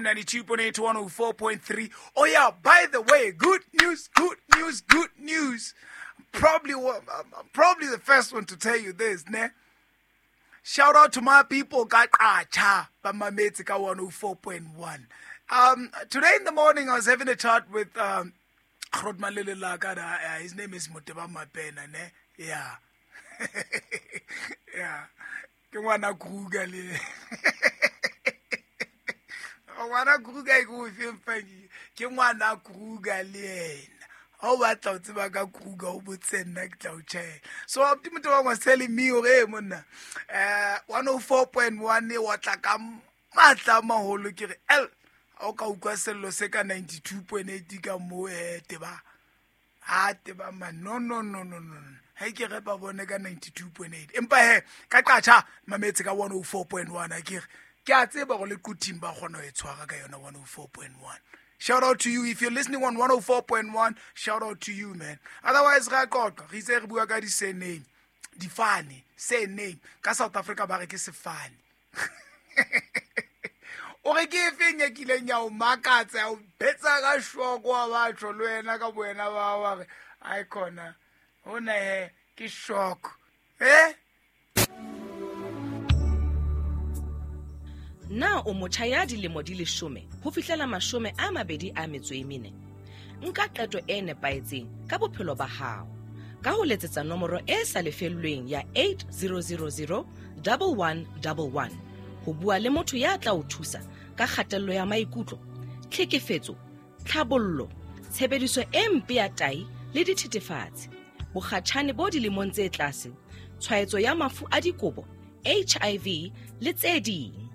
92.8 to 104.3. Oh yeah, by the way, good news, good news, good news. Probably, I'm probably the first one to tell you this, ne? Shout out to my people, ka Qacha, ba mametse ka 104.1. Today in the morning, I was having a chat with Grootman Lele Laka, his name is Moteba Mapena, ne? Yeah. Yeah. Ke ngwana Kruger le. Ngwana Kruger ke o feng feng? Ke ngwana Kruger le yena. Ha o batla ho tseba ka Kruger, o botse nna, ke tla o tjhela. So abuti Motebang was telling me hore, hey, monna, 104.1 e otla ka matla a maholo. Ke re, el, ha o ka utlwa sello se ka 92.8 ka moo, teba. Ha teba man, no, no, no, no, no, no. Ha ke re ba bone ka 92.8. Empa he, ka Qacha, mametse ka 104.1, ha ke re. Ke a tseba hore le Quthing ba kgona ho e tshwara ka yona 104.1. Shout out to you if you're listening on 104.1. Shout out to you, man. Otherwise, re a qoqa, re itse re bua ka di-surname, difane, surname. Ka South Africa ba re ke sefane. O re ke efeng e kileng ya o makatsa, ya o betsa ka shoko wa batho le wena ka bo wena ba wa re, ai khona, hona he, ke shock. Eh? Na o motjha ya dilemo di 10 ho fihlela 24? Nka qeto e nepahetseng ka bophelo ba hao ka ho letsetsa nomoro e sa lefellweng ya 8000 1111 ho bua le motho ya tla o thusa ka kgatello ya maikutlo, tlhekefetso, tlhabollo, tshebediso e mpe ya tahi le dithethefatsi, bokgatjhane bo dilemong tse tlase, tshwaetso ya mafu a dikobo, HIV le tse ding.